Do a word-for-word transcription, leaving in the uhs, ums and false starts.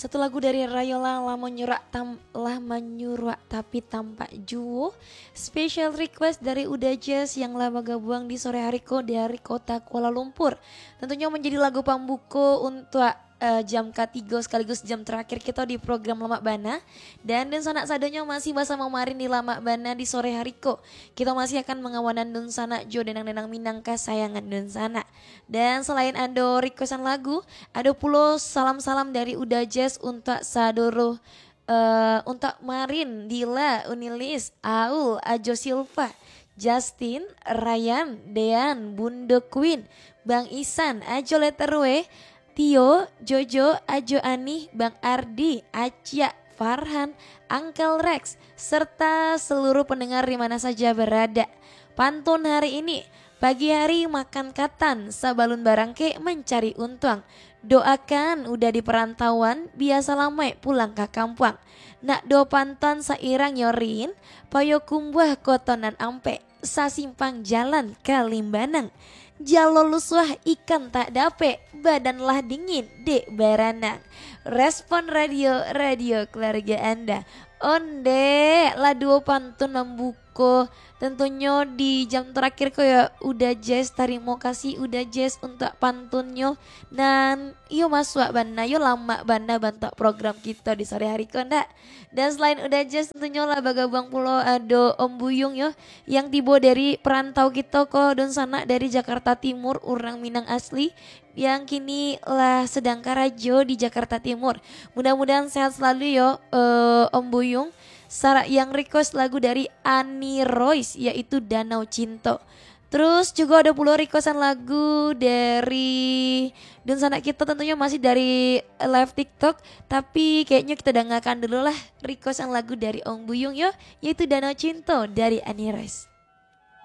Satu lagu dari Rayola, Lah Manyuruak Tam-, Lah Manyuruak Tapi Tampak Juo. Special request dari Uda Jazz yang lah bagabuang di sore hari ko dari kota Kuala Lumpur. Tentunyo manjadi lagu pambuko untuak, eh, jam katigo sekaligus jam terakhir kito di program Lamak Bana. Dan dunsanak sadonyo masih basamo Marin di Lamak Bana di sore hari ko. Kito masih akan mangawanan dunsanak jo denang-denang Minang kasayangan dunsanak. Dan salain ado requestan lagu, ado pulo salam-salam dari Uda Jazz untuak sadoro, eh, untuak Marin, Dila, Unilis, Aul, Ajo Silva, Justin, Ryan, Dean, Bundo Queen, Bang Isan, Ajo Letter W, Tio, Jojo, Ajo Anih, Bang Ardi, Aciak, Farhan, Uncle Rex, serta seluruh pendengar di mana saja berada. Pantun hari ini, pagi hari makan katan, sabalun barangkek mancari untuang. Doakan Uda di perantauan, bia salamaik pulang ka kampuang. Nak do pantun sairang yo Rin, Payokumbuah koto nan ampek, sasimpang jalan ka Limbanang. Jalo lusuah ikan tak dapek, badan lah dingin dek baranang. Respon Radio, radio keluarga Anda. Ondeh, lah duo pantun mambuko. Tentunyo di jam terakhir ko yo, Uda Jazz, tarimo kasih Uda Jazz untuak pantunnyo. Nan iyo masuak bana, yo lamak bana bantuak program kito di sore hari ko ndak? Dan selain Uda Jazz, tentunyo lah bagabuang pulo ado Om Buyung yo, yang tibo dari perantau kito ko, dunsanak dari Jakarta Timur, urang Minang asli, yang kini lah sedang karajo di Jakarta Timur. Mudah-mudahan sehat selalu yo, eh, Om Buyung. Sara-, yang request lagu dari Ani Royce, yaitu Danau Cinto. Terus juga ada pulo requestan lagu dari dunsanak kito, tentunyo masih dari live TikTok, tapi kayaknya kita dengarkan dulu lah requestan lagu dari Om Buyung yo, yaitu Danau Cinto dari Ani Royce.